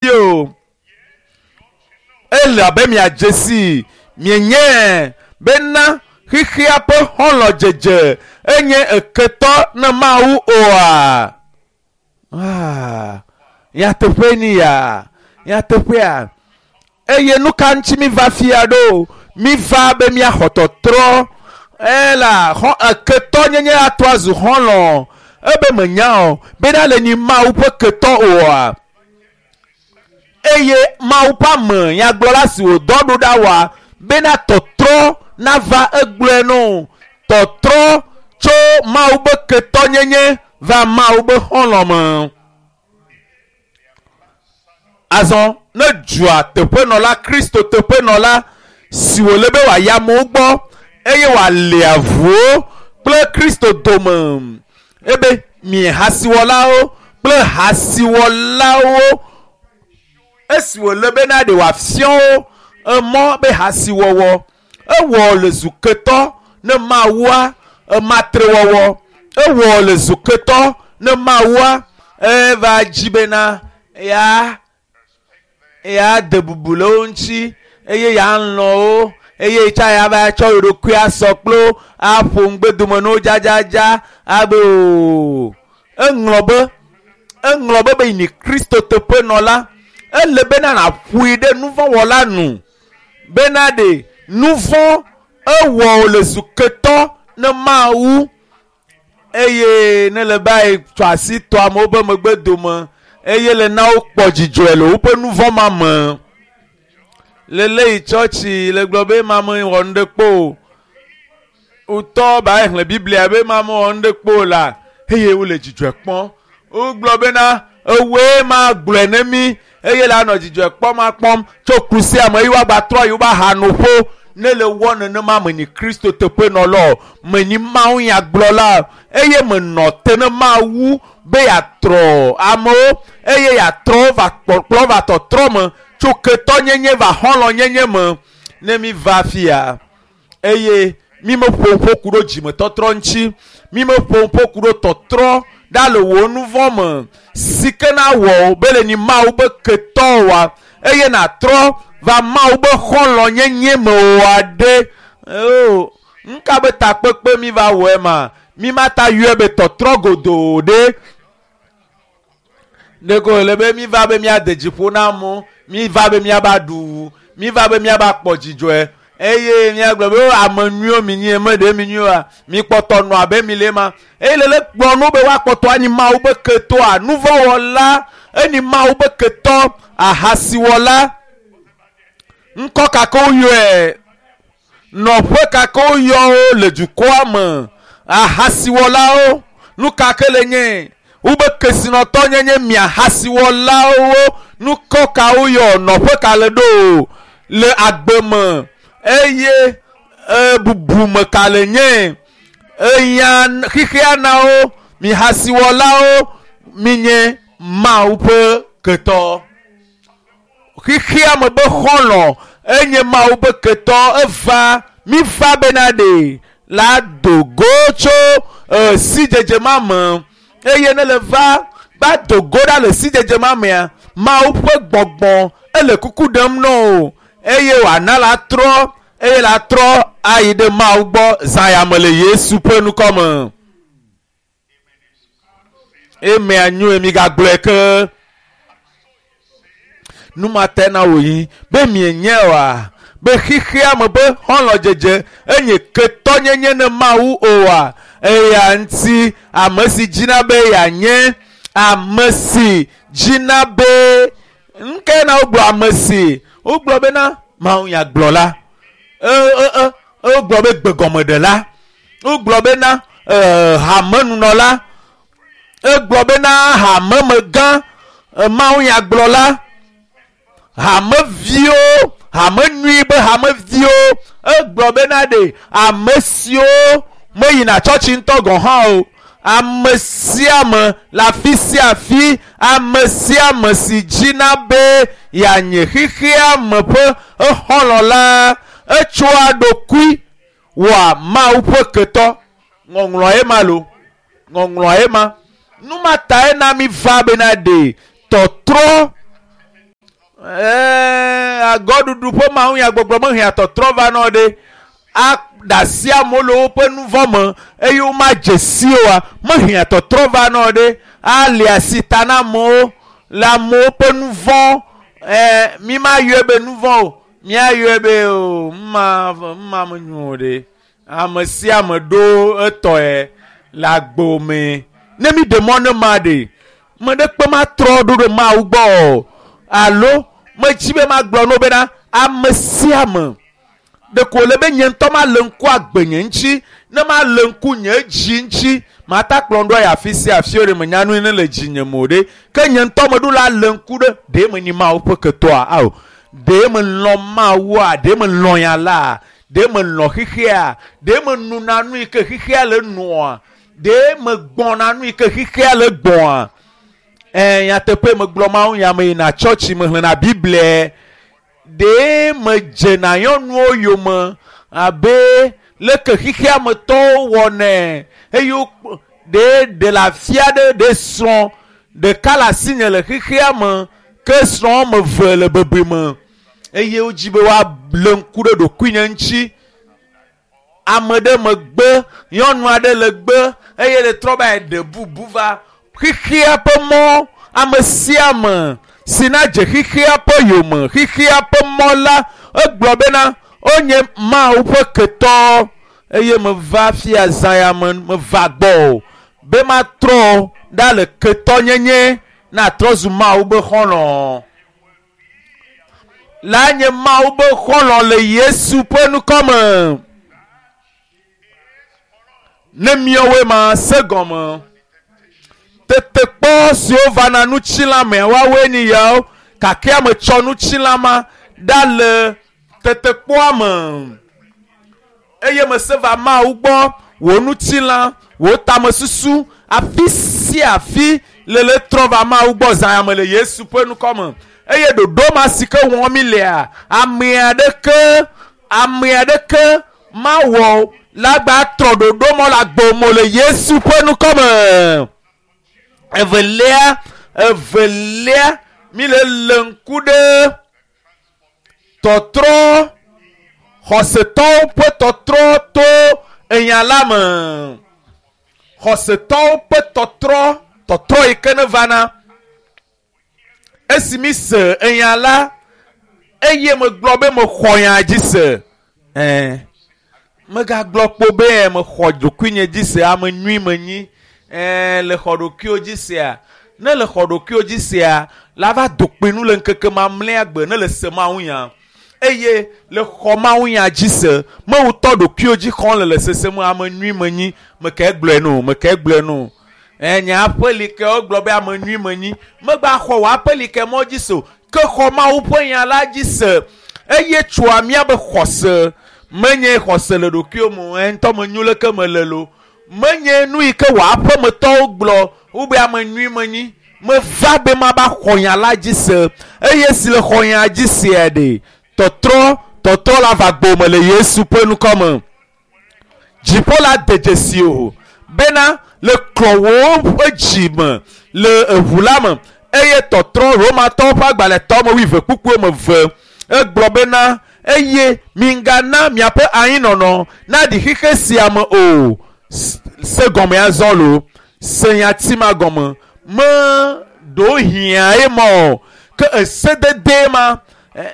O ele abe miadze si mienye bena xixia ƒe xɔlɔ̃dzedze enye eketɔ ne Mawu oa? Ah, nyateƒe ni ya, nyateƒea. Eye nu ka ŋuti mi va fia ɖo? Mi va be miaxɔ tɔtrɔ. Ela xɔ eketɔ nyenye atrɔ azu xɔlɔ̃. Ebe menya o bena le nyi Mawu ƒe ketɔ oa? Eye Mawu ƒe ame nyagblɔla si wòdɔ ɖo ɖa wɔa bena tɔtrɔ nava egblɔe no. Tɔtrɔ tso Mawu be ketɔnyenye va Mawu be xɔlɔ̃ me. Azɔ ne dua teƒenɔla Kristo teƒenɔla si wòle be wòayi amewo gbɔ eye wòali avuwo kple Kristo dome ebe mi hasiwɔlawo kple hasiwɔlawo esi wòle bena ɖe wòafia wo emɔ be hasiwɔwɔ ewɔ le zu ketɔ ne Mawua ematrewɔwɔ ewɔ le zu ketɔ ne Mawua eva dzi bena ya ya de bubu le wo ŋuti eye ya lɔ̃ wo eye tsa ya va tsɔ yeɖokui asɔ kple wo aƒo ŋugbedome na wo dzadzadza abe o eŋlɔ be eŋlɔ be be yi Kristo teƒenɔla ele bena nàƒoe ɖe nuvɔ̃wɔla nu bena ɖe nuvɔ̃ ewɔ wò le zu ketɔ ne Mawu eye ne le ba yi tsɔ asi tɔ amewo be megbe dome eye le na wokpɔ dzidzɔe le woƒe nuvɔ̃ ma me. Le le yi tsɔtsi le gblɔ be ma me wɔ nu ɖe kpo o. Wotɔ ba yi xlẽ Biblia be ma me wɔ nu ɖe kpo o la eye wole dzidzɔe kpɔm. Wogblɔ bena ewoe ma gblɔe ne mi eye la nɔ dzidzɔe kpɔm akpɔm tso ku sia me eye woagba trɔ yi wobe ahanoƒo ne le wɔ nenema menyi Kristo teƒenɔla o, menyi Mawu nyagblɔla eye menɔ te ne Mawu be yeatrɔ amewo eye yeatrɔ wo va kpɔkplɔ va tɔtrɔ me tso ketɔnyenye va xɔlɔ̃nyenye me ne mi va fia eye mi meƒo ƒo ku ɖo dzimetɔtrɔ ŋuti mi meƒo ƒo ku ɖo tɔtrɔ ɖa le wò nuvɔ̃ me si ke na wɔ wo be le nyi Mawu be ketɔ wa eye nàtrɔ va Mawu be xɔlɔ̃nyenye me oa ɖe o nuka be takpekpe mi va wɔe ma mi ma ta yɔe be tɔtrɔ godoo ɖe ɖeko wòle be mi va be míade dzi ƒo na amewo mi va be míava ɖu mi va be míava kpɔ dzidzɔe eye míagblɔ be ame nyuiwo mi nyi eme ɖe mi nyuiwoa mi kpɔtɔ nɔ abe mi le ma eye le le kplɔ nu be woakpɔtɔ anyi Mawu be ketɔa nuvɔ̃wɔla enyi Mawu be ketɔ ahasiwɔla ŋkɔ kake woyɔe nɔƒe kake woyɔ wo le dukɔa me ahasiwɔlawo nu kake le nye wobe kesinɔtɔ nyenye mi ahasiwɔlawo nukɔ ka woyɔ nɔƒe ka le ɖo le agbe me eye bubume ka le nye eya xixia na wo mi hasiwɔlawo mi nye Mawu ƒe ketɔ xixia me be xɔlɔ̃ enye Mawu be ketɔ eva mi va bena ɖe la do go tso sidzedze ma me eye ne le va va do go ɖa le sidzedze ma mea Mawu ƒe gbɔgbɔ ele kuku ɖem na wo eye wòana la trɔ eye la trɔ ayi ɖe Mawu gbɔ zã ya me le Yesu ƒe ŋkɔ me. Emea nyoe migagblɔe ke nu ma te na wò yi be mienye oa be xixia me be xɔlɔ̃dzedze enye ketɔnyenye ne Mawu oa eya ŋuti ame si dzina be yeanye ame si dzina be nukae na wogblɔ ame si wogblɔ bena Mawu nyagblɔla wogblɔ be gbegɔmeɖela wogblɔ bena hamenunɔla egblɔ bena hamemegã Mawu nyagblɔla hameviwo hame nyui be hameviwo egblɔ bena ɖe ame siwo meyina tsɔtsi ŋutɔ gɔ̃ hã o ame sia ame le afi sia afi ame sia ame si dzina be yeanye xixia me ƒe exɔlɔ̃ la etsoa ɖokui wɔa Mawu ƒe ketɔ ŋɔŋlɔe ma lo ŋɔŋlɔe ma nu ma tae na mi va bena ɖe tɔtrɔ. Ɛɛ agɔɖuɖu ƒe mawu ya gbɔgblɔ mehea tɔtrɔ va nɔ ɖe. Aɖe asi amewo le woƒe nu vɔ̃ me eye womadze si oa, mehea tɔtrɔ va nɔ ɖe. Ali asi ta na amewo le amewo ƒe nu vɔ̃ ɛɛ mi ma yɔe be nu vɔ̃ o. Míayɔe be o mma mma menyo o ɖe. Ame sia ame ɖo etɔe le agbo me. Ne mi ɖe mɔ ne ma ɖe, me ɖe kpe ma trɔ ɖo ɖe Mawu gbɔ o. Alo medzi be magblɔ no bena ame sia ame ɖeko wòle be nye ŋutɔ male ŋku agbenye ŋuti, ne male ŋku nye dzi ŋuti, mata kplɔ ɖo ayi afi sia afi ɖe menya nu ne le dzinye me o ɖe. Ke nye ŋutɔ meɖo la le ŋku ɖe ɖe menyi Mawu ƒe ketɔa ao. Ɖe melɔ̃ Mawua, ɖe melɔ̃ ya la, ɖe melɔ̃ xexea, ɖe menuna nu yi ke xexea le nua, ɖe megbɔna nu yi ke xexea le gbɔa. Ɛ nyateƒe megblɔ Mawu nya me yina tsɔtsi mexlẽna Biblia. Ɖe medzena nyɔnuwo yome abe leke xexea me tɔwo wɔnɛ eye wo ɖe ɖe le afi aɖe ɖe srɔ̃ ɖeka le asinye le xexea me ke srɔ̃ wɔme eve le bebeme eye wodzi be woalé ŋku ɖe ɖokuinye ŋuti. Ame ɖe megbe, nyɔnu aɖe le gbe eye le trɔ va yi ɖe bubu va xexea ƒe mɔ. Ame sia ame si nadze xexea ƒe yome, xexea ƒe mɔ la, egblɔ bena wonye Mawu ƒe ketɔ eye meva fia zã ya me meva gbɔ o be matrɔ ɖa le ketɔnyenye na trɔ zu Mawu be xɔlɔ̃. La nye Mawu be xɔlɔ̃ le Yesu ƒe ŋkɔ me. Ne miawoe ma se gɔme. Tetekpɔ siwo vana ŋutilã mea woawoe nye yawo gake ame tsɔ ŋutilã ma ɖa le tetekpɔa me. Eye mese va Mawu gbɔ wò ŋutilã, wò tamesusu, afi sia afi le le trɔ va Mawu gbɔ zã ya me le Yesu ƒe ŋkɔ me. Eye ɖoɖo ma si ke wɔm mi lea, ame aɖeke ame aɖeke mawɔ la gba trɔ ɖoɖo mɔ le agbo me le Yesu ƒe ŋkɔ me. Evelia, evelia, mi le lé ŋku ɖe tɔtrɔ xɔsetɔwo ƒe tɔtrɔ to enya la me. Xɔsetɔwo ƒe tɔtrɔ, tɔtrɔ yi ke ne vana. Esi mi se enya la, eye megblɔ be mexɔ nya dzi se. Ɛɛ, megagblɔ kpo be mexɔ ɖokuinye dzi se, ame nyui menyi. Ɛɛ, le xɔ ɖokuiwo dzi sea, ne le xɔ ɖokuiwo dzi sea, la va do kpui nu le ŋkeke mamlɛa gbe ne le se Mawu nya. Eye le xɔ Mawu nya dzi se, mewutɔ ɖokuiwo dzi xɔm le le sese me ame nyui menyi. Meke gblɔe no, meke gblɔe no. Ɛ nye aƒelike wogblɔ be ame nyui menyi. Megba xɔ wò aƒelike mɔ dzi se o. Ke xɔ Mawu ƒe nya la dzi se. Eye tsoa míabe xɔse. Menye xɔse le ɖokuiwo me o. Ɛ ŋutɔ menyo leke mele lo. Menye nu yi ke wò aƒemetɔwo gblɔ wobe ame nyui menyi. Meva be mava xɔ nya la dzi se. Eye si le xɔ nya dzi sea ɖe, tɔtrɔ, tɔtrɔ la va gbɔ me le Yesu ƒe ŋkɔ me. Dziƒo la de dzesi o bena le klɔwò ƒe dzi me le eʋu la me eye tɔtrɔ Romatɔwo ƒe agbalẽtɔ me wuieve kpukpuiwo me ve egblɔ bena eye migana miaƒe anyinɔnɔ naɖi xexe sia me o. Se gɔme azɔ lo, se nyati ma gɔme me ɖo hiã ye mɔ o. Ke esedede ma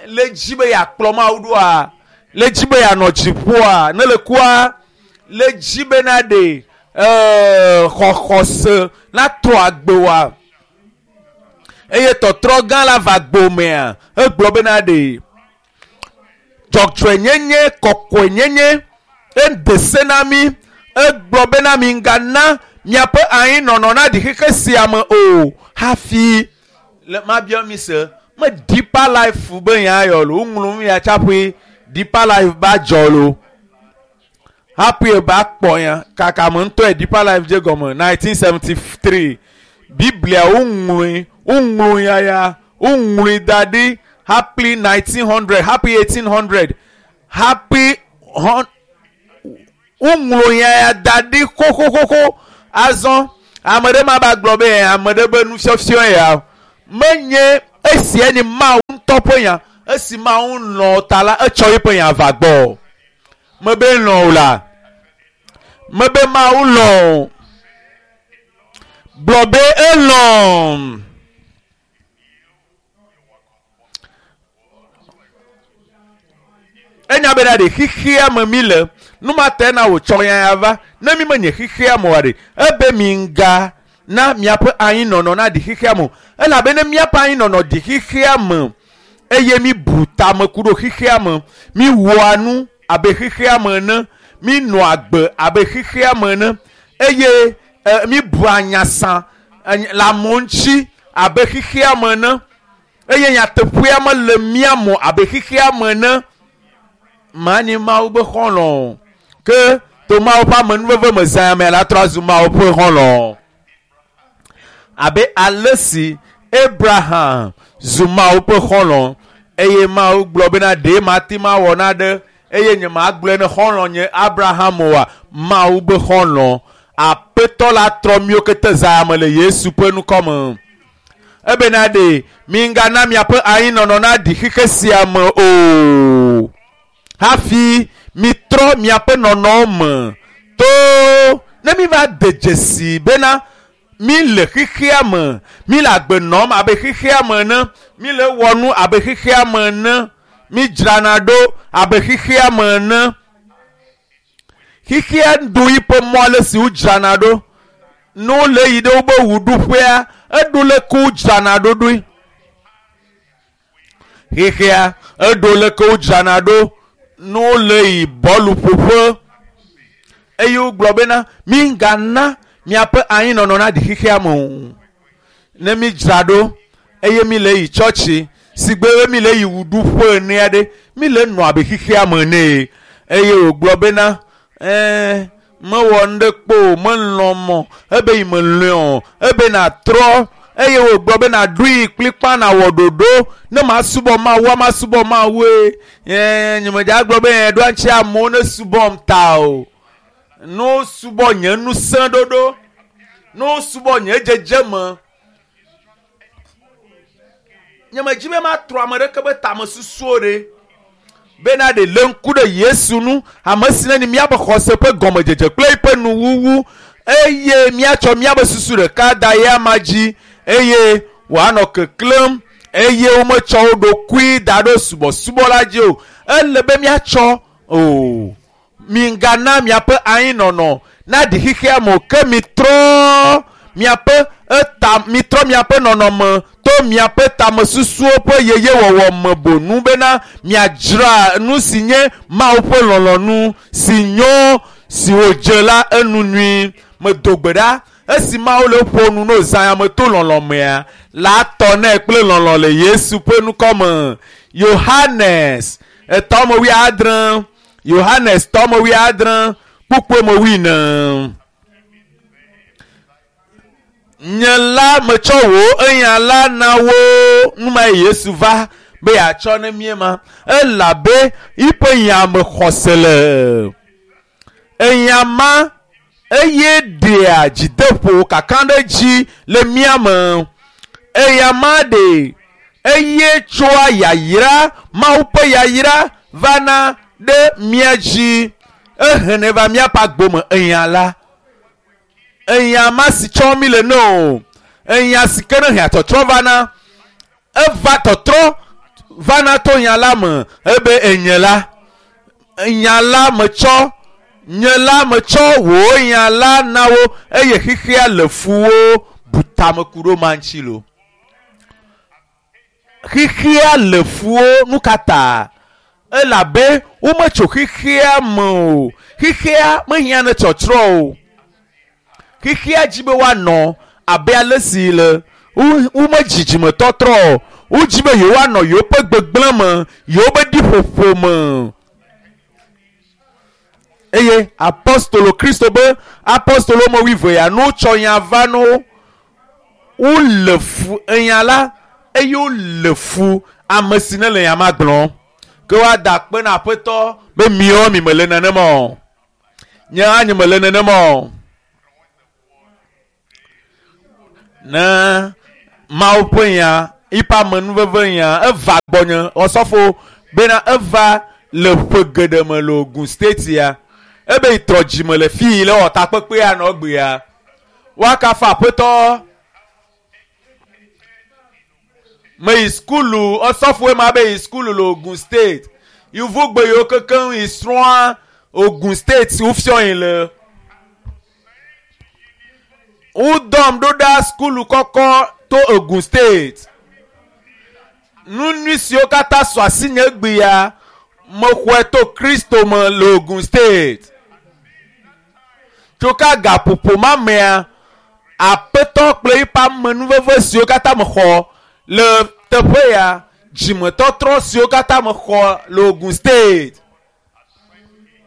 le dzi be yeakplɔ Mawu ɖoa, le dzi be yeanɔ dziƒoa, ne le kua, le dzi be na ɖe xɔxɔse natrɔ agbe wa. Eye tɔtrɔ gã la va gbomea, egblɔ be na ɖe dzɔdzɔenyenye, kɔkɔenyenye ede se na mi. Egblɔ bena migana miaƒe anyinɔnɔ naɖi xexe sia me o. Hafi le mabia mi se, me Deeper Life be nya yɔ lo, woŋlɔ nu ya tsaƒe Deeper Life ba dzɔ lo. Hafi ba kpɔ ya kaka me ŋutɔe Deeper Life dze gɔme 1973. Biblia woŋlɔe, woŋlɔ ya ya, woŋlɔe da ɖi hafi 1900, hafi 1800, hafi woŋlɔ ya ya da ɖi xoxoxoxo. Azɔ ame ɖe ma ba gblɔ be ame ɖe be nufiɔfiɔ ya menye Esia nye Mawu ŋutɔ ƒe nya. Esi Mawu lɔ̃ ta la, etsɔ eƒe nya va gbɔ. Mebe lɔ̃ o la. Mebe Mawu lɔ̃ o. Gblɔ be elɔ̃. Enya bena ɖe xexea me mi le. Nu ma tae na wòtsɔ nya ya va. Ne mi menye xexea me oa ɖe, ebe mi ŋga na miaƒe anyinɔnɔ naɖi xexea me o. Elabe ne míaƒe anyinɔnɔ ɖi xexea me eye mi bu tame ku ɖo xexea me, mi wɔa nu abe xexea me ene, mi nɔa agbe abe xexea me ene eye e, mi bua nyasa le amewo ŋuti abe xexea me ene eye nyateƒea mele mía me abe xexea me ene. Manyi Mawu be xɔlɔ̃ o. Ke to Mawu ƒe amenuveve me zã ya me la trɔ azu Mawu ƒe xɔlɔ̃. Abe ale si Abraham zu Mawu ƒe xɔlɔ̃ eye Mawu gblɔ bena ɖe mate ŋu awɔ naɖe eye nye magblɔe ne xɔlɔ̃ nye Abraham oa, Mawu be xɔlɔ̃. Aƒetɔ la trɔ míwo kete zã ya me le Yesu ƒe ŋkɔ me. Ebena ɖe migana miaƒe anyinɔnɔ naɖi xexe sia me o. Hafi mitrɔ miaƒe nɔnɔwo me to ne mi va de dzesi bena mi le xexea me, mi le agbe nɔm abe xexea me ene, mi le wɔ nu abe xexea me ene, mi dzrana ɖo abe xexea me ene. Xexea ɖu yiƒe mɔ ale si wodzrana ɖo. Ne wole yi ɖe wobe ʋuɖuƒea, eɖo leke wodzrana ɖo ɖoe. Xexea eɖo leke wodzrana ɖo ne wole yi bɔlu ƒoƒe eye wogblɔ bena mi ŋgana miaƒe anyinɔnɔ naɖi xexea me o. Ne mi dzra ɖo eye mi le yi tsɔtsi si gbe be mi le yi ʋuɖuƒe ene aɖe, mi le nɔ abe xexea me ene. Eye wògblɔ bena ɛɛ mewɔ nu ɖe kpo o, melɔ̃ mɔ ebe yi melɔ̃e o, ebe natrɔ eye wògblɔ be naɖoe kplikpa nawɔ ɖoɖo ne masubɔ Mawua masubɔ Mawue. Ɛɛ nye medza gblɔ be ɖoa ŋuti amewo ne subɔm ta o. Ne wosubɔ nye ŋusẽ ɖoɖo, ne wosubɔ nye dzedzeme. Nye medzi be matrɔ ame ɖeke be tamesusuwo ɖe. Bena ɖe lé ŋku ɖe Yesu ŋu, ame si ne míaƒe xɔse ƒe gɔmedzedze kple eƒe nuwuwu eye míatsɔ míaƒe susu ɖeka da ye ama dzi eye wòanɔ keklẽm eye wometsɔ wo ɖokui da ɖo subɔsubɔ la dzi o. Ele be míatsɔ o. Migana miaƒe anyinɔnɔ naɖi xexea me o ke mitrɔ miaƒe eta mitrɔ miaƒe nɔnɔme to miaƒe tamesusuwo ƒe yeyewɔwɔ me bonu bena miadzra nu si nye Mawu ƒe lɔlɔ̃nu si nyo si wòdze la enu nyui. Medo gbe ɖa esi Mawu le ƒo nu no zã ya me to lɔlɔ̃ mea la tɔ nɛ kple lɔlɔ̃ le Yesu ƒe ŋkɔ me. Yohanes etɔ me wuiadre. Yohanes tɔ me wuiadre kpukpue me wuiene. Nye la metsɔ wò enya la na wo. Nu ma ye Yesu va be yeatsɔ ne mí ma. Elabe yiƒe nya me xɔse le. Enya ma eye ɖea dzideƒo kaka ɖe dzi le mía me. Eya ma ɖe eye tsoa yayra, Mawu ƒe yayra vana ɖe mía dzi. Ehenɛ va míaƒe agbo me enya la. Enya ma si tsɔm mi le ne o. Enya si ke ne hea tɔtrɔ vana. Eva tɔtrɔ vana to nya la me ebe enye la. Nya la metsɔ, nye la metsɔ wò nya la na wo eye xexea le fu wo bu tame ku ɖo ma ŋuti lo. Xexea le fu wo nu ka ta? Elabe wometso xexea me o. Xexea mehiã ne tsɔtsrɔ̃ o. Xexea dzi be woanɔ abe ale si le womedzi dzimetɔtrɔ o. Wodzi be yewoanɔ yewoƒe gbegblẽ me, yewoƒe ɖiƒoƒo me. Eye apostolo Kristo be apostolo me wuieve ya ne wotsɔ nya va na wo, wole fu enya la eye wole fu ame si ne le nya ma gblɔm. Ke woada akpe na Aƒetɔ be miawo mi mele nenema o. Nye hã nye mele nenema o. Ne Mawu ƒe nya Yiƒe amenuveve nya eva gbɔnye ɔsɔfo bena eva le ƒe geɖe me le Ogun State ya. Ebe yi trɔ dzime le fi yi le wɔ takpekpea nɔ egbea. Woakafu aƒetɔ. Meyi sukulu ɔsɔfoe ma be yi sukulu le Ogun State. Yevugbe yiwo kekeŋ yi srɔ̃a Ogun State wofiɔ yi le. Wodɔm ɖo ɖa sukulu kɔkɔ to Ogun State. Nu nyui siwo katã su asinye egbea, mexɔe to Kristo me le Ogun State. Tso ka gaƒoƒo ma mea, Aƒetɔ kple eƒe amenuveve siwo katã mexɔ le teƒe ya, dzimetɔtrɔ siwo katã mexɔ le Ogun State.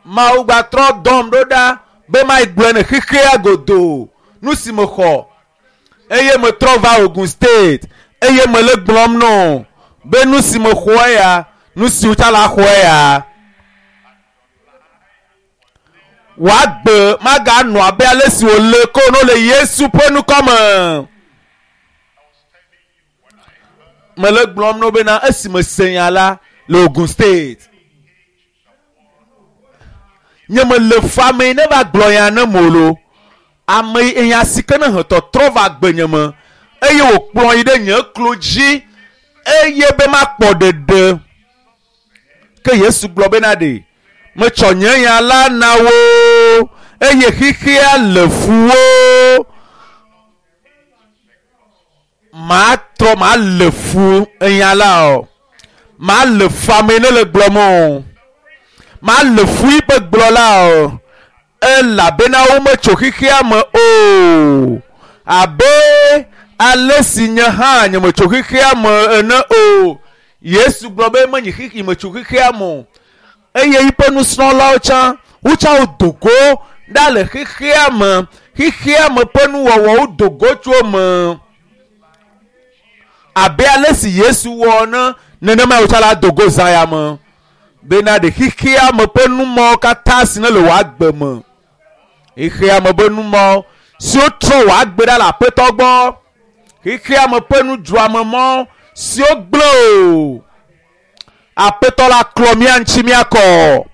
Mawu gbatrɔ dɔm ɖo ɖa be mayi gblɔe ne xexea godoo nu si mexɔ eye metrɔ va Ogun State eye mele gblɔm nɔ be nu si mexɔe ya, nu si wotsa la xɔe ya. Wòagbe maganɔ abe ale si wòle ko no le Yesu ƒe ŋkɔ me. Mele gblɔm no bena esi mese nya la le Ogun State. Nye mele fu ame yi ne va gblɔ nya ne mo lo. Ame yi enya si ke ne he tɔtrɔ va gbenye me eye wòkplɔ yi ɖe nye klo dzi eye be makpɔ ɖeɖe. Ke Yesu gblɔ bena ɖe metsɔ nye nya la na wo eye xexea le fu wo. Matrɔ male fu enya la o. Male fu ame yi ne le gblɔm o. Male fu yiƒe gblɔ la o. Elabena wometso xexea me o. Abe ale si nye hã nyemetso xexea me ene o. Yesu gblɔ be menyi xexi metso xexea me o. Eye yiƒe nusrɔ̃lawo tsã wotsã wodo go ɖa le xexea me. Xexea me ƒe nuwɔwɔwo do go tso eme. Abe ale si Yesu wɔ ene, nenemae wotsã la do go zã ya me. Bena ɖe xexea me ƒe numɔwo katã si ne le wò agbe me. Xexea me ƒe numɔwo siwo trɔ wò agbe ɖa le aƒetɔ gbɔ. Xexea me ƒe nudzroamemɔ siwo gblẽ o. Aƒetɔ la klɔ mía ŋuti míakɔ.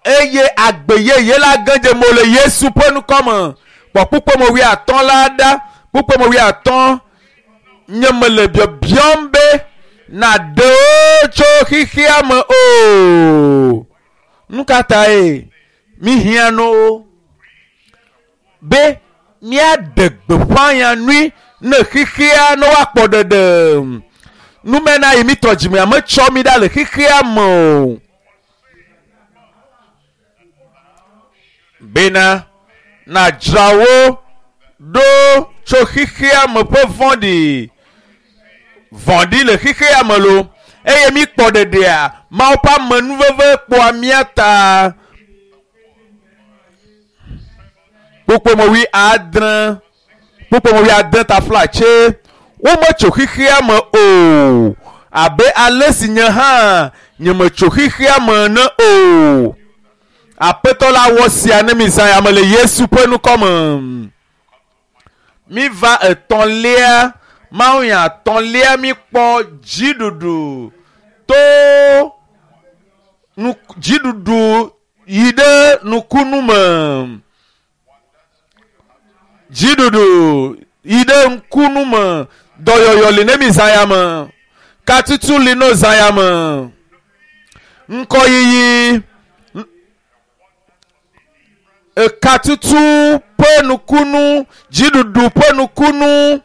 Eye agbe yeye la ge dze mo le Yesu ƒe ŋkɔ me. Kpɔ kpukpeme wuiatɔ̃ la ɖa. Kpukpeme wuiatɔ̃. Nye mele biabiam be nàɖe wo tso xexea me o. Nu ka tae míhiã no wo? Be míaɖe gbeƒã nya nyui ne xexea ne woakpɔ ɖeɖe. Numena yi mítrɔ dzimea metsɔ mí ɖa le xexea me o. Bena nàdzra wo ɖo tso xexea me ƒe vɔ̃ɖi. Vɔ̃ɖi le xexea me lo. Eye míkpɔ ɖeɖea, Mawu ƒe amenuveve kpɔa mía ta. Kpukpome wuiadre, kpukpome wuiade taflatse, wometso xexea me o, abe ale si nye hã nyemetso xexea me ene o. Aƒetɔ la wɔ sia ne mi zã ya me le Yesu ƒe ŋkɔ me. Míva etɔ̃lia, mawunya etɔ̃lia míkpɔ dziɖuɖu to nu dziɖuɖu yi ɖe nukunu me. Dziɖuɖu yi ɖe ŋkunu me. Dɔyɔyɔ li ne mi zã ya me. Katutu li no zã ya me. Ŋkɔyiyi ekatutu ƒe nukunu, dziɖuɖu ƒe nukunu,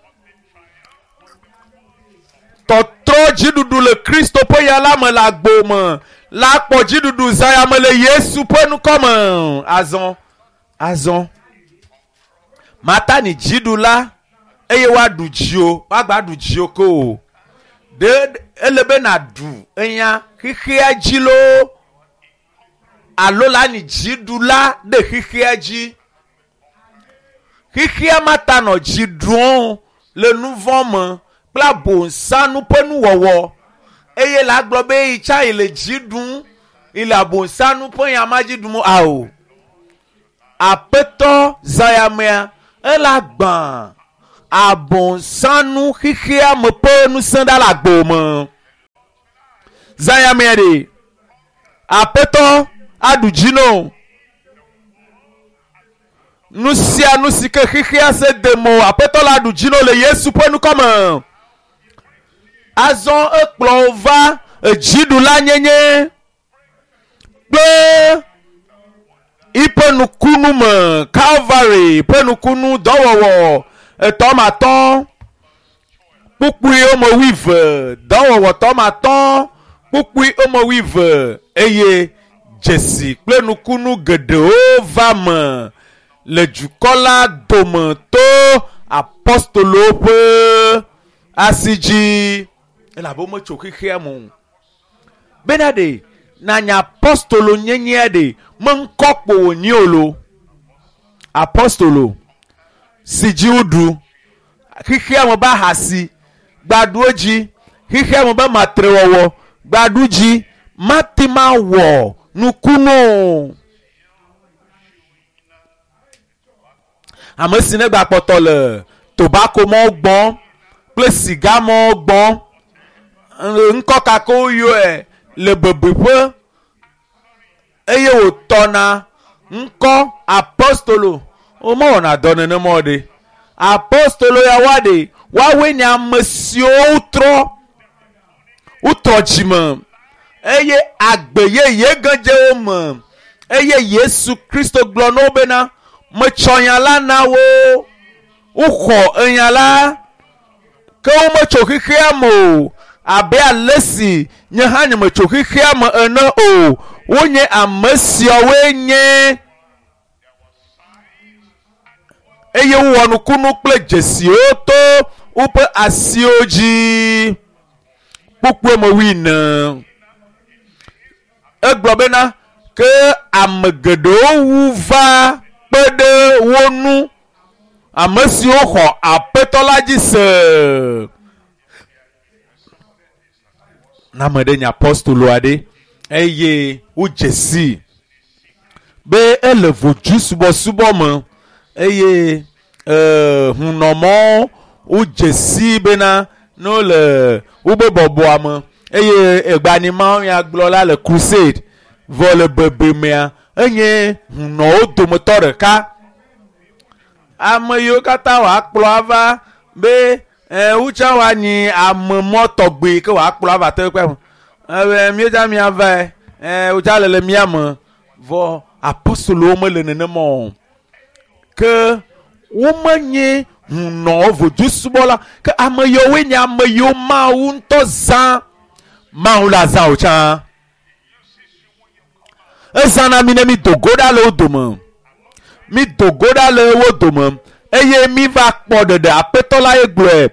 tɔtrɔ dziɖuɖu le Kristo ƒe ya la me le agbo me la kpɔ dziɖuɖu zã ya me le Yesu ƒe ŋkɔ me. Azɔ, azɔ, Matani dziɖula eye woaɖu dziwò, woagba ɖu dziwò ko o. Ɖe ele be nàɖu enya xexea dzi loo alo la nyi dziɖula ɖe xexea dzi. Xexea mata nɔ dzi ɖum le nu vɔ̃ me kple abosanu ƒe nuwɔwɔ eye la gblɔ be yi tsã yi le dzi ɖum yi le abosanu ƒe nya ma dzi ɖum ao. Aƒetɔ zã ya mea ela gbã. abɔnsanu xexea me ƒe ŋusẽ ɖa le agbo me. Zãyamea ɖe aƒetɔ aɖu dzi no. Nu sia nu si ke xexea se de mo aƒetɔ la aɖu dzi no le Yesu ƒe ŋkɔ me. Azɔ ekplɔ wo va edziɖula nyenye kple yiƒe nukunu me Calvary ƒe nukunu dɔwɔwɔ etɔmatɔ kpukpui wome wuieve dɔwɔwɔ tɔmatɔ kpukpui wome wuieve eye dzesi kple nukunu geɖewo va me le dukɔ la dome to apostolowo ƒe asi dzi elabe wometso xexea me o. Bena ɖe nanya apostolo nyenyea ɖe me ŋkɔ kpo wònye o lo. Apostolo si dzi woɖu xexea me be ahasi gbaɖu edzi xexea me be matrewɔwɔ gbaɖu dzi mate ma wɔ nukunu o. Ame si ne gbakpɔtɔ le tobako mɔwo gbɔm kple siga mɔwo gbɔm ŋkɔ kako woyɔe le bebeƒe eye wòtɔna ŋkɔ apostolo womewɔna dɔ nenema o ɖe apostolo ya woa ɖe woawoe nye ame siwo wotrɔ wotrɔ dzime eye agbe yeye ge dze wo me eye Yesu Kristo gblɔ na wo bena metsɔ nya la na wo woxɔ enya la ke wometso xexea me o abe ale si nye hã nyemetso xexea me ene o wonye ame siawoe nye eye wowɔ nukunu kple dzesiwo to woƒe asiwo dzi kpukpue me wuiene egblɔ bena ke ame geɖewo wu va kpe ɖe wo ŋu ame siwo xɔ aƒetɔ la dzi se na ame ɖe nye apostolo aɖe eye wodze sii be ele vodzu subɔsubɔ me eye hunɔmɔwo wodze sii bena ne wole wobe bɔbɔa me eye egbanimawo ya gblɔ la le crusade vɔ le bebemea enye hunɔwo dometɔ ɖeka. Ame yiwo katã wòakplɔ ava be wotsã woanyi ame mɔ tɔgbi ke wòakplɔ ava teƒe ebe míedza míavae wotsã le le mía me vɔ apostolowo mele nenema o ke womenye hunɔwo vodusubɔla ke ame yiwoe nye ame yiwo Mawu ŋutɔ zã Mawu la zã wo tsã. Ezãna mi ne mi do go ɖa le wo dome. Mi do go ɖa le wo dome eye mi va kpɔ ɖeɖe aƒetɔ la ye gblɔe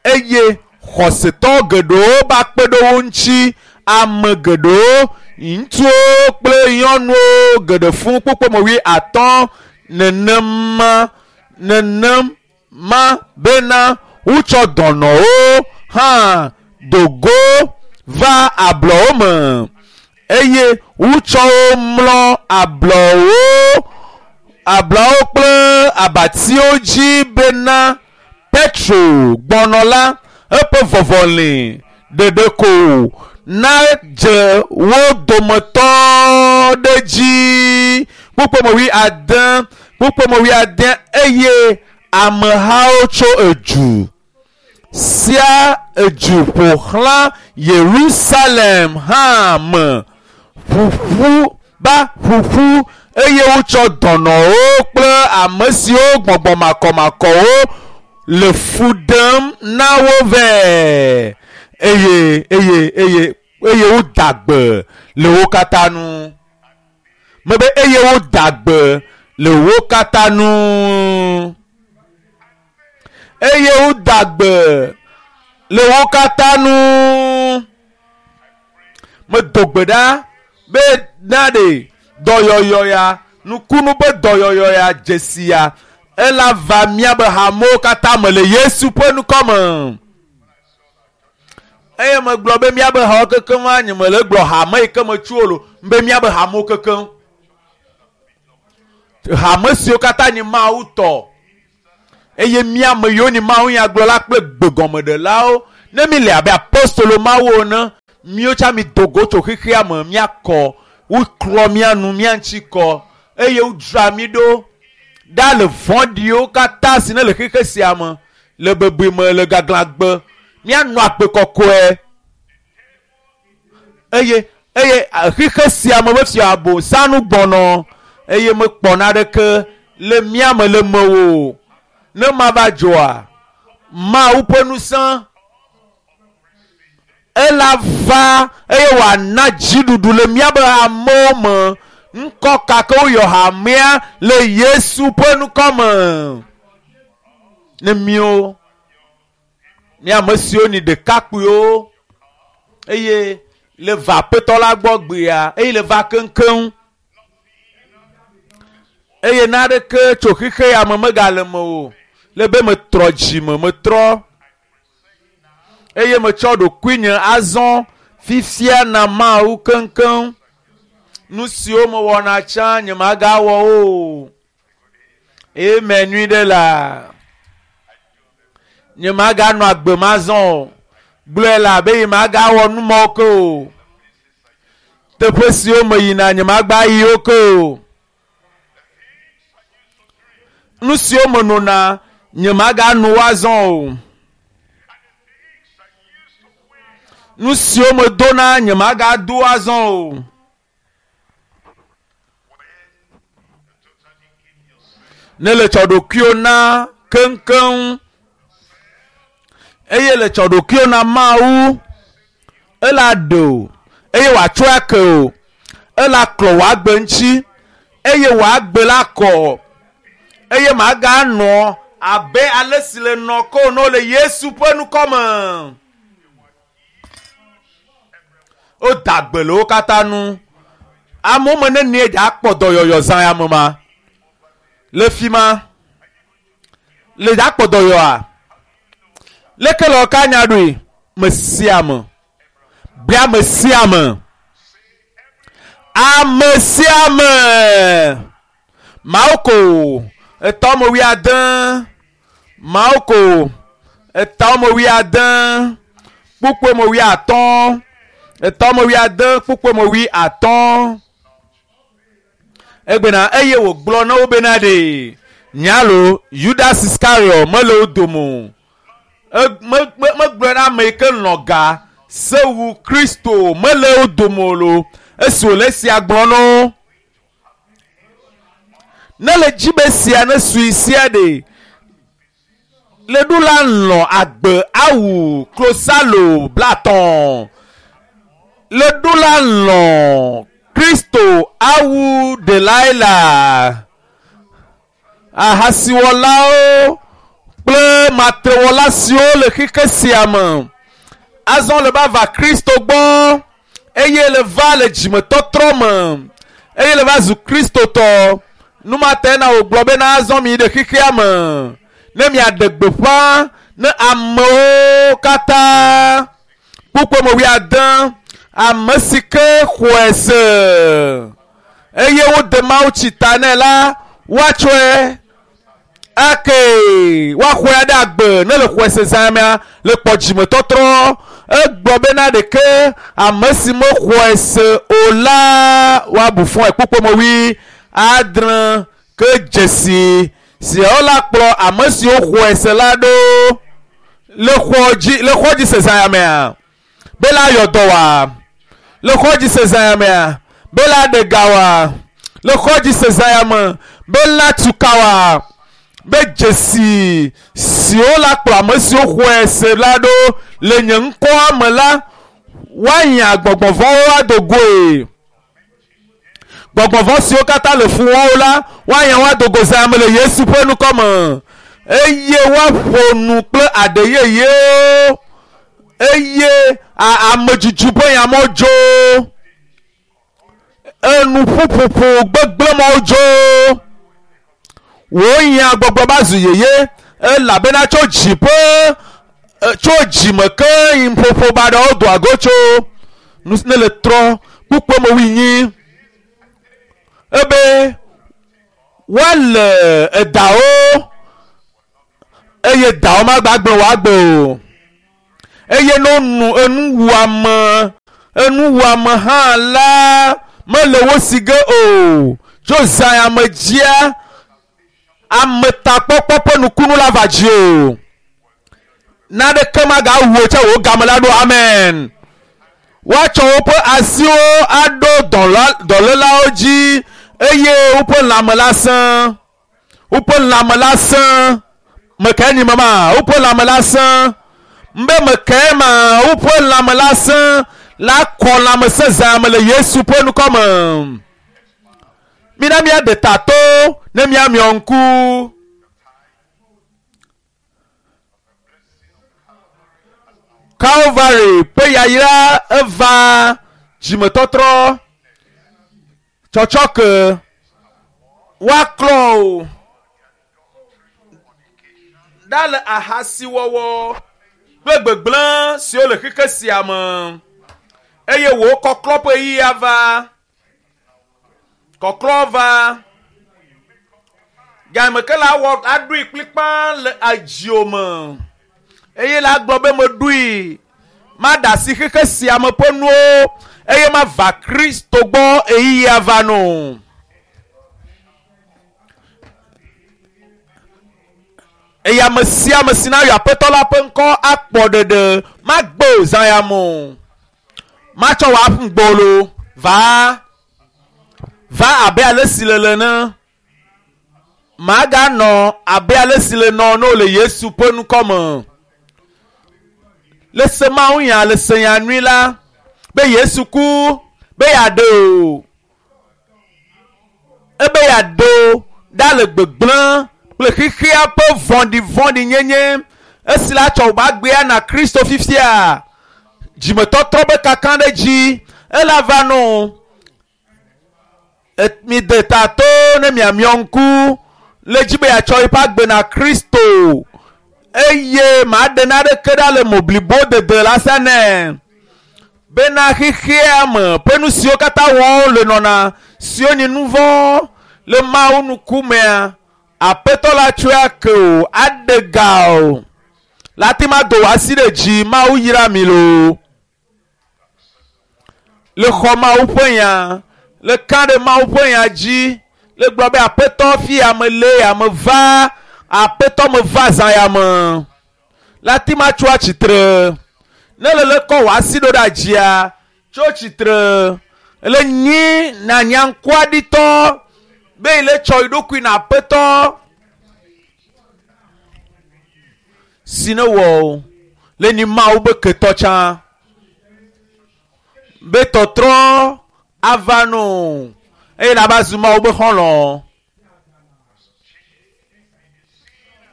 eye xɔsetɔ geɖewo va kpe ɖe wo ŋuti ame geɖewo ŋutsuwo kple nyɔnuwo geɖe fũ kpukpɔ me wuiatɔ̃ nenema nenema bena wotsɔ dɔnɔwo hã do go va ablɔwo me eye wotsɔ wo mlɔ ablɔwo ablɔwo kple abatiwo dzi bena Petro gbɔnɔ la eƒe vɔvɔli ɖeɖeko nadze wo dometɔ ɖe dzi kpukpɔ wuiade kpukpɔ wuiade eye amehawo tso edu sia edu ƒo xlã Yerusalem hã me ƒuƒu ba ƒuƒu eye wotsɔ dɔnɔwo kple ame siwo gbɔgbɔ makɔmakɔwo le fu ɖem na wo vɛ eye eye eye eye woda gbe le wo katã nu mebe eye woda gbe le wo katã nu eye woda gbe le wo katã nu medo gbe ɖa be na ɖe dɔyɔyɔ ya nukunu be dɔyɔyɔ ya dzesi ya ela va míabe hamewo katã me le Yesu ƒe ŋkɔ me. Eye megblɔ be míabe hawo kekeŋ nye mele gblɔ hame yi ke metso o lo be míabe hamewo kekeŋ. Hame siwo katã nye Mawu tɔ. Eye mí ame yiwo ni mawunyagblɔla kple gbegɔmeɖelawo, ne mi le abe apostolo mawo ene, míwo tsã mi do go tso xexea me, míakɔ, woklɔ mía nu, mía ŋuti kɔ, eye wodzra mí ɖo ɖa le vɔ̃ɖiwo katã si ne le xexe sia me, le bebeme, le gaglãgbe, míanɔ agbe kɔkɔe. Eye eye xexe sia me be fia abosanu gbɔnɔ eye mekpɔ naɖeke le mía me le mewò o. Ne mava dzɔa, Mawu ƒe ŋusẽ ela va eye wòana dziɖuɖu le míabe amewo me. Ŋkɔ ka ke woyɔ hamea le Yesu ƒe ŋkɔ me. Ne míwo, mía ame siwo ni ɖekakpuiwo eye le va aƒetɔ la gbɔ gbea eye le va keŋkeŋ eye naɖeke tso xexe ya me megale me o le be metrɔ dzime metrɔ eye metsɔ ɖokuinye azɔ fifia na Mawu keŋkeŋ. Nu siwo mewɔna tsã nyemagawɔ o. Amen nyui ɖe la. Nyemaganɔ agbe ma zɔ o. Gblɔe la be nyemagawɔ nu mawo ke o. Teƒe siwo meyina nyemagba yi wo ke o. Nu siwo menona nyemagano wo azɔ o. Nu siwo medona nyemagado azɔ o. Ne le tsɔ ɖokuiwo na keŋkeŋ eye le tsɔ ɖokuiwo na Mawu, ela ɖe o eye wòatsɔe ake o. Ela klɔ wò agbe ŋuti eye wò agbe la kɔ eye maganɔ abe ale si le nɔ ke o ne wole Yesu ƒe ŋkɔ me. Woda gbe le wo katã nu. Amewo me nenie dza akpɔ dɔyɔyɔ zã ya me ma? Le fi ma le dza akpɔ dɔyɔa? Leke le ka nya ɖoe? Me sia me. Bia me sia me. Ame sia me. Mawu ko etɔ me wuiade. Mawu ko etɔ me wuiade. Kpukpue me wuiatɔ̃. Etɔ me wuiade kpukpue me wuiatɔ̃. Egbena eye wògblɔ na wo bena ɖe nyalo Judas Iscariot mele wo dome o. Megblɔ na ame yi ke lɔ̃ ga sewu Kristo mele wo dome o lo. Esi wòle esia gblɔ na wo. Ne le dzi be sia ne sui sia ɖe le ɖu la lɔ̃ agbe awu klosalo blatɔ̃. Le ɖu la lɔ̃ Kristo awu Delaila. Ahasiwɔlawo kple matrewɔla siwo le xexe sia me azɔ le va va Kristo gbɔ eye le va le dzimetɔtrɔ me eye le va zu Kristotɔ. Nu ma ta na wògblɔ bena azɔ mi ɖe xexea me ne miaɖe gbeƒã ne amewo katã. Kpukpue me wuiade, ame si ke xɔe se eye wode Mawu tsi ta nɛ la, woatsɔe ake woaxɔe ɖe agbe ne le xɔe se zã mea le kpɔ dzimetɔtrɔ. Egblɔ bena ɖeke ame si mexɔe se o la woabu fɔe. Kpukpue me wuiadre ke dzesi siawo la kplɔ ame siwo xɔe se la ɖo le xɔ dzi le xɔ dzi se zã ya mea be la yɔ dɔ wa le xɔ dzi se zã ya mea be la ɖe ga wa le xɔ dzi se zã ya me be la tu ka wa be dzesi siwo la kplɔ ame siwo xɔe se la ɖo le nye ŋkɔa me la woanya gbɔgbɔ vɔ̃wo ado goe. Gbɔgbɔ vɔ̃ siwo katã le fu wɔm la woanya wo ado go zã me le Yesu ƒe ŋkɔ me eye woaƒo nu kple aɖe yeyewo eye amedzudzu ƒe nyamewo dzo, enuƒuƒoƒo gbegblẽ mawo dzo. Wò nya gbɔgblɔ va zu yeye elabena tso dziƒo tso dzime ke ƒoƒo baɖawo doa go tso. Nu si ne le trɔ kpukpue me wuinyi ebe woale edawo. Eye dawo magbagblẽ wò agbe o. Eye ne wonu enuwuame, enuwuame hã la, mele wo si ge o. Tso zã ya me dzia, ametakpɔkpɔ ƒe nukunu la va dzi o. Naneke magawu wò tse wò game la ɖo. Amen. Woatsɔ woƒe asiwo aɖo dɔlélawo dzi eye woƒe lãme la sẽ. Woƒe lãme la sẽ. Mekae nyi mama? Woƒe lãme la sẽ. Mbe mekae ma? Woƒe lãme la sẽ. La kɔ lãme sẽ zã me le Yesu ƒe ŋkɔ me. Mina míaɖe ta to ne míamiɔ ŋku. Calvary ƒe yayra eva dzimetɔtrɔ tsɔtsɔke woaklɔ o ɖa le ahasiwɔwɔ kple gbegblẽ siwo le xexe sia me eye wò kɔklɔ ƒe ɣeyiɣi ava. Kɔklɔ va. Game ke la wɔ aɖoe kplikpaa le edzio me eye la gblɔ be meɖoe maɖe asi xexe sia me ƒe nuwo eye mava Kristo gbɔ ɣeyiɣia va no. Eye ame sia ame si nayɔ Aƒetɔ la ƒe ŋkɔ akpɔ ɖeɖe magbe o zã ya me o. Matsɔ wò aƒu gbolo va va abe ale si le le ene. Maganɔ abe ale si le nɔ ne wole Yesu ƒe ŋkɔ me. Le se Mawu nya le se nya nyui la be Yesu ku be yeaɖe o. Ebe yeaɖe o ɖa le gbegblẽ kple xexea ƒe vɔ̃ɖivɔ̃ɖinyenye esi la tsɔ wòbe agbea na Kristo fifia. Dzimetɔtrɔ be kaka ɖe dzi ela va nɔ mi de ta to ne miamiɔ ŋku le dzi be yeatsɔ eƒe agbe na Kristo eye maɖe naɖeke ɖa le mo blibo dede la sia nɛ bena xexea me ƒe nu siwo katã wɔm le nɔna siwo nyi nu vɔ̃ le Mawu ŋkumea Aƒetɔ la tsɔe ake o aɖe ga o la te ma do wò asi ɖe dzi Mawu yra mi loo. Le xɔ Mawu ƒe nya, le ka ɖe Mawu ƒe nya dzi, le gblɔ be Aƒetɔ fi ya me le ya me va, Aƒetɔ me va zã ya me. La te ma tso atsitre. Ne le le kɔ wò asi ɖo ɖe dzia, tso tsitre. Le nyi na nyaŋkuaɖitɔ be yi le tsɔ yi ɖokui na Aƒetɔ si ne wɔ o. Le nyi Mawu be ketɔ tsã. Be tɔtrɔ ava no eye la va zu Mawu be xɔlɔ̃.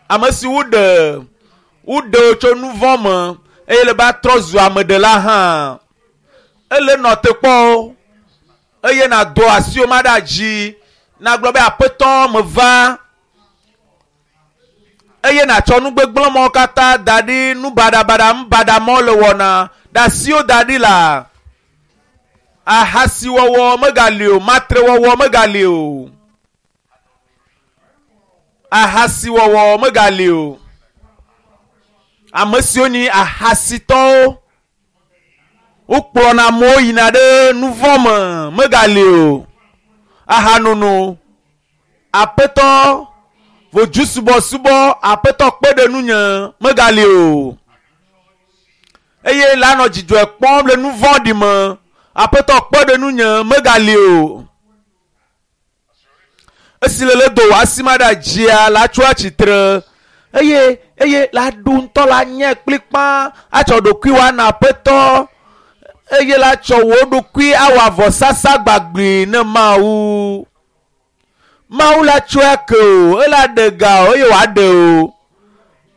Ame si woɖe woɖe wo tso nu vɔ̃ me eye le ba trɔ zu ameɖela hã. Ele nɔ te kpɔ o eye nàdo asiwò ma ɖe dzi nagblɔ be Aƒetɔ meva eye nàtsɔ nu gbegblẽ mɔwo katã da ɖi nu baɖabaɖa nu baɖa mɔwo le wɔna ɖe asiwò da ɖi la ahasiwɔwɔ megali o matrewɔwɔ megali o ahasiwɔwɔ megali o ame siwo nyi ahasitɔwo wokplɔna amewo yina ɖe nu vɔ̃ me megali o ahanono Aƒetɔ vodusubɔsubɔ Aƒetɔ kpe ɖe nunye megali o eye la nɔ dzidzɔe kpɔm le nu vɔ̃ɖi me Aƒetɔ kpe ɖe nunye megali o esi le le do wò asi ma ɖe dzia la tso atsitre eye eye la ɖu ŋutɔ la nye kplikpã atsɔ ɖokui wa na Aƒetɔ eye la tsɔ wò ɖokui awɔ avɔsasa gbagbi ne Mawu. Mawu la tsɔe ake o, ela ɖe ga o eye wòaɖe o.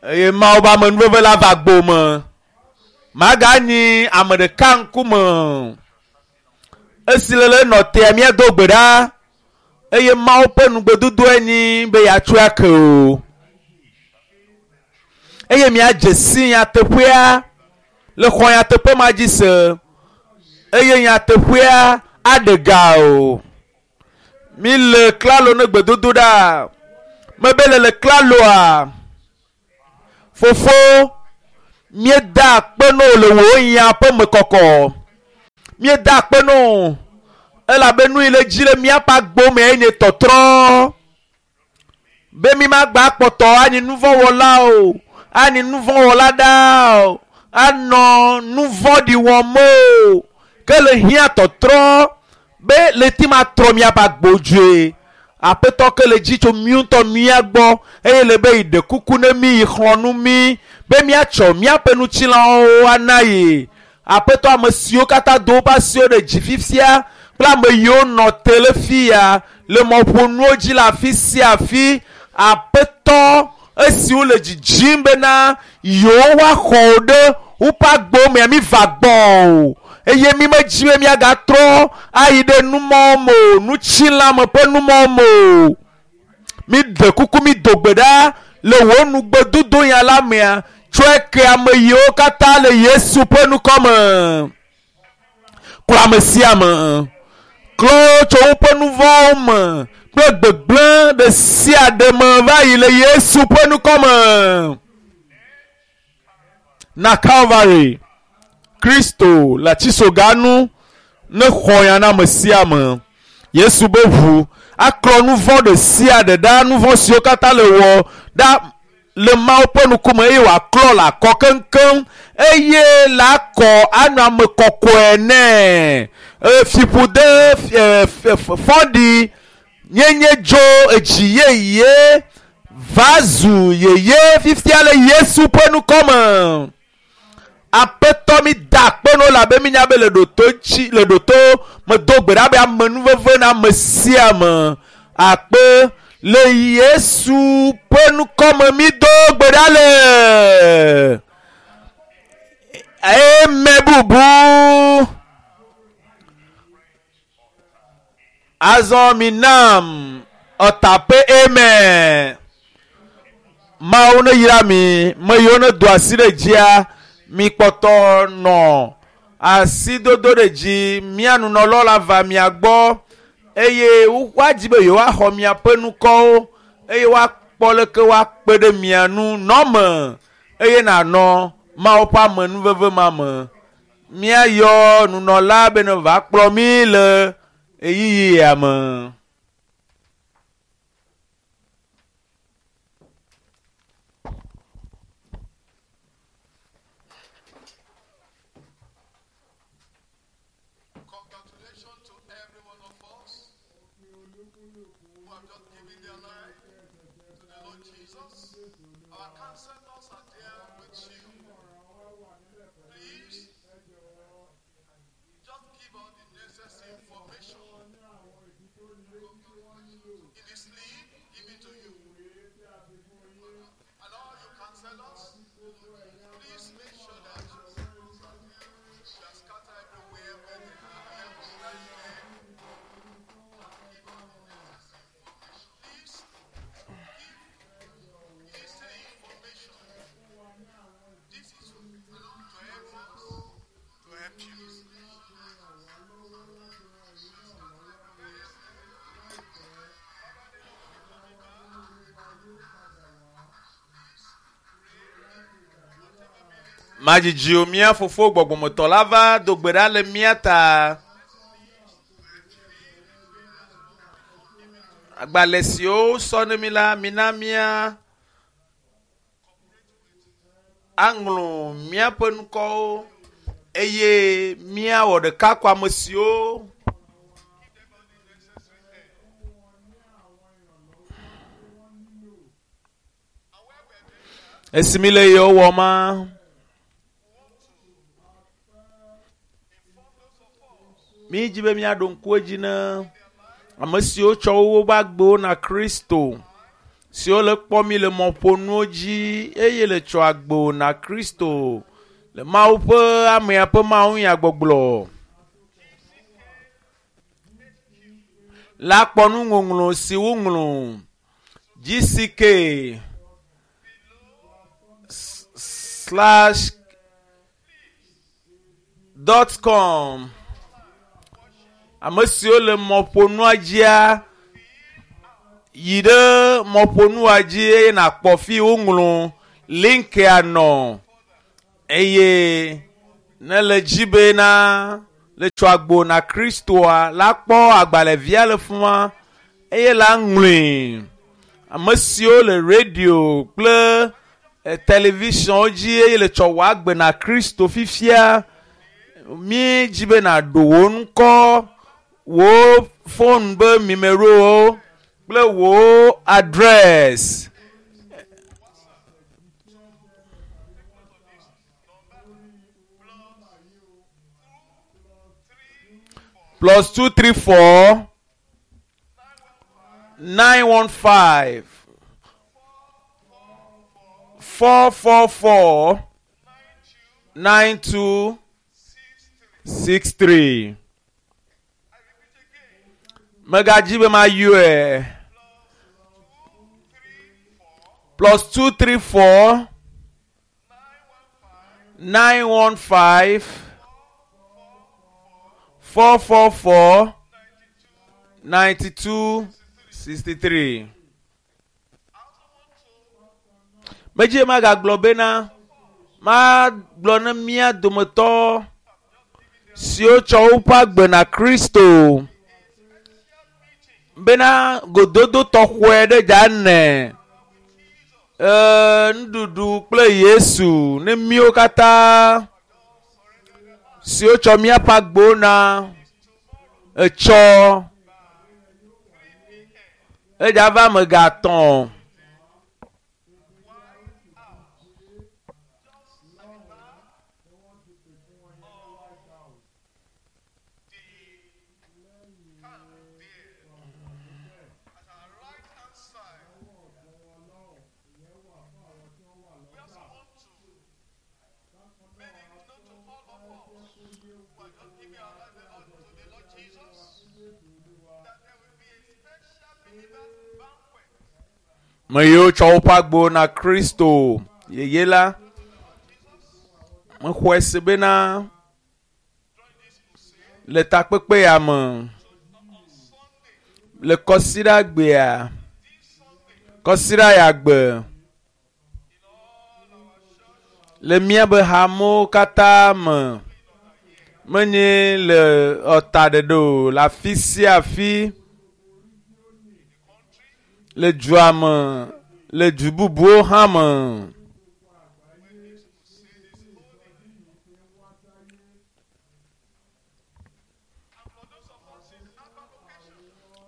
Eye Mawu be amenuveve la va gbo me. Maganyi ame ɖeka ŋkume. Esi le le nɔ tea míado gbe ɖa eye Mawu ƒe nugbedodoe nyi be yeatsɔe ake o. Eye míadze si nyateƒea le xɔ nyateƒe ma dzi se eye nyateƒea aɖe ga o. Mi le klalo ne gbedodo ɖa. Mebe le le klaloa. Fofo, míeda akpe na wò le wò nya ƒe mekɔkɔ. Míeda akpe na wò elabe nu yi le dzi le míaƒe agbo me enye tɔtrɔ. Be mi magba kpɔtɔ anyi nuvɔ̃wɔla o, anyi nuvɔ̃wɔla ɖaa o, anɔ nuvɔ̃ɖi wɔm o. Ke le hiã tɔtrɔ be le ti ma trɔ míaƒe agbo dzoe. Aƒetɔ ke le dzi tso mí ŋutɔ mía gbɔ eye le be yi ɖe kuku ne mí yi xlɔ̃ nu mí be míatsɔ míaƒe ŋutilãwo ana yi. Aƒetɔ ame siwo katã do woƒe asiwo ɖe dzi fifia kple ame yiwo nɔ te le fia le mɔƒonuwo dzi le afi sia afi. Aƒetɔ esiwo le dzidzim bena yewo woaxɔ wo ɖe woƒe agbowo mea mi va gbɔ o eye mi medzi be miagatrɔ ayi ɖe numɔwo me o, nutsilãme ƒe numɔwo me o. Mi ɖe kuku mi do gbe ɖa le wò nugbedodo nya la mea tsɔe ke ame yiwo katã le Yesu ƒe ŋkɔ me. Klɔ ame sia ame. Klɔ wo tso woƒe nuvɔ̃wo me kple gbegblẽ ɖe sia ɖe me va yi le Yesu ƒe ŋkɔ me. Na Calvary, Kristo le atisoga nu ne xɔ ya na ame sia ame. Yesu be ʋu aklɔ nuvɔ̃ ɖe sia ɖe ɖa, nuvɔ̃ siwo katã le wɔ ɖa le Mawu ƒe ŋkume eye wòaklɔ le akɔ keŋkeŋ eye le akɔ anɔ ame kɔkɔe nɛ. Fiƒode fɔɖi nyenye dzo edzi yeye va zu yeye fifia le Yesu ƒe ŋkɔ me. Aƒetɔ mi da akpe na wo elabe minya be le ɖoto tsi le ɖoto medo gbe ɖa be amenuveve na ame sia ame. Akpe le Yesu ƒe ŋkɔ me mi do gbe ɖa le. Eme bubu. Azɔ mi nam ɔtaƒe eme. Mawu ne yra mi, me yiwo ne do asi ɖe dzia, mi kpɔtɔ nɔ asidodo ɖe dzi. Mía nunɔlawo la va mia gbɔ eye woadzi be yewoaxɔ miaƒe ŋkɔwo eye woakpɔ leke woakpe ɖe mia ŋu nɔ me eye nànɔ Mawu ƒe amenuveve ma me. Míayɔ nunɔla be ne va kplɔ mí le ɣeyiɣi ya me. Congratulations to every one of us who have just given their life to the Lord Jesus. Our counselors are there with you. Please, just give us the necessary information. In the sleep, give it to you. And all you counselors, please make sure that you are scattered everywhere where they are. Right there. Please give this information. This is to help us, to help you. Madzidzi o mía fofo gbɔgbɔmetɔ la va do gbe ɖa le mía ta. Agbalẽ siwo sɔ ne mi la, mina mía aŋlɔ míaƒe ŋkɔwo eye míawɔ ɖeka kɔ ame siwo esi mi le yewo wɔm ma. Mi dzi be míaɖo ŋku edzi ne ame siwo tsɔ woƒe agbewo na Kristo, siwo le kpɔ mi le mɔƒonuwo dzi eye le tsɔ agbewo na Kristo le Mawu ƒe amea ƒe mawunyagbɔgblɔ. La kpɔ nuŋɔŋlɔ si woŋlɔ GCK slash dot com. Ame siwo le mɔƒonua dzia yi ɖe mɔƒonua dzi eye nàkpɔ fi woŋlɔ Linkia nɔ eye ne le dzi bena le tso agbo na Kristoa la kpɔ agbalẽvia le fima eye la ŋlɔe. Ame siwo le radio kple televisionwo dzi eye le tsɔ wɔ agbe na Kristo fifia, mi dzi be nàɖo wò ŋkɔ, wò fon be numerowo kple wò address. +234 915 444 92 63. Megadzi be mayɔe. +234 915 444 92 63. Medzi magagblɔ bena magblɔ ne mía dometɔ siwo tsɔ woƒe agbe na Kristo bena gododo tɔxɔe ɖe dza ne nuɖuɖu kple Yesu ne míwo katã siwo tsɔ míaƒe agbewo na etsɔ edza va ame gatɔ̃. At our right hand side, we also want to make it known to all of us who are just giving our life to the Lord Jesus that there will be a special believers banquet. Me yiwo tsɔ woƒe agbewo na Kristo yeye la, mexɔe se bena le takpekpe ya me, le kɔsiɖagbea, kɔsiɖa ya gbe, le míabe hamewo katã me, menye le ɔta ɖeɖe o, le afi sia afi, le dua me, le du bubuwo hã me.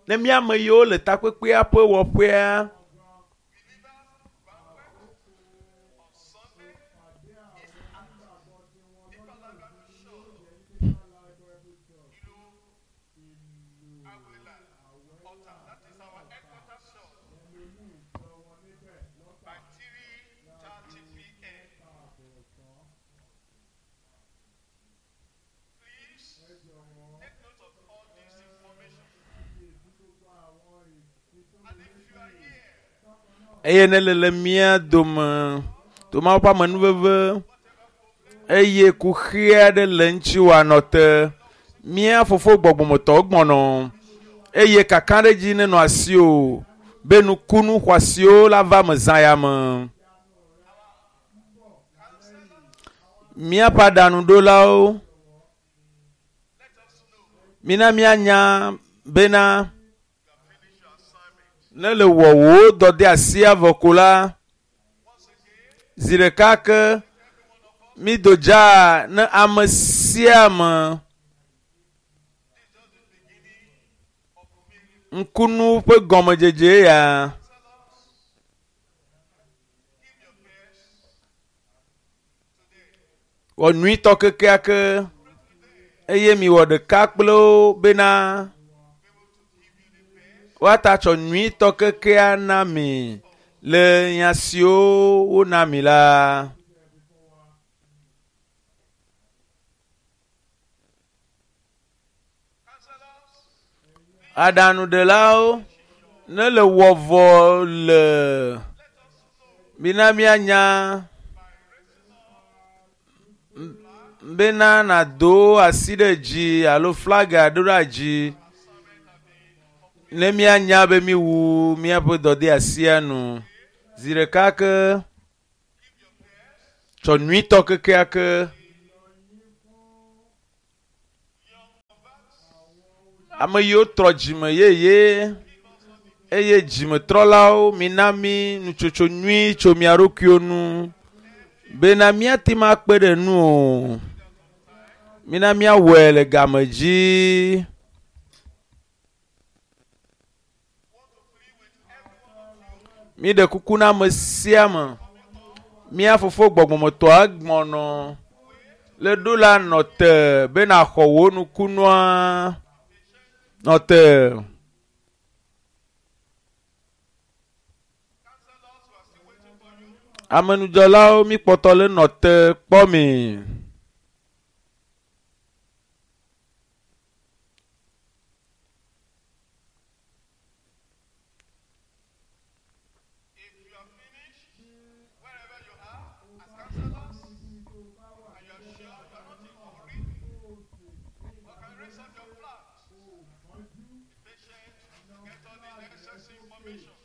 Ne mía ame yiwo le takpekpea ƒe wɔƒea, Awila altar. That is our headquarters church. By 3:30 p.m. Please take note of all this information. And if you are here, eye ne le le mía dome, to Mawu ƒe amenuveve, eye kuxi aɖe le ŋuti wòanɔ te, mía fofo gbɔgbɔmetɔwo gbɔnɔ eye kakaɖedzi nenɔ asiwò be nukunu xɔasiwo la va me zã ya me. Míaƒe aɖaŋuɖolawo, mina míanya bena ne le wɔ wò dɔdeasia vɔ ko la, zi ɖeka ke mído dzaa ne ame sia ame ŋkunu ƒe gɔmedzedze ya. Wɔ nyuitɔ kekeake eye miwɔ ɖeka kple wo bena woata tsɔ nyuitɔ kekea na mi le nya siwo wona mi la. Aɖaŋuɖelawo ne le wɔ vɔ le mina míanya bena nàdo asi ɖe dzi alo flaga ɖo ɖe dzi ne míanya be míwu míaƒe dɔdeasia nu zi ɖeka ke. Tsɔ nyuitɔ kekeake. Ame yiwo trɔ dzime yeye eye dzimetrɔlawo mina mi nutsotso nyui tso mia ɖokuiwo nu bena míate ŋu akpe ɖe nu o. Mina míawɔe le game dzi. Míɖe kuku na ame sia ame. Mía fofo gbɔgbɔmetɔa gbɔnɔ le ɖo la nɔ te be nàxɔ wò nukunua. Nɔ te. Amenudzɔlawo míkpɔtɔ le nɔ te kpɔ mi. If you are finished, wherever you are, as counselors, and you are sure you are not in a hurry, you can raise up your flags. Be patient, get all the necessary information.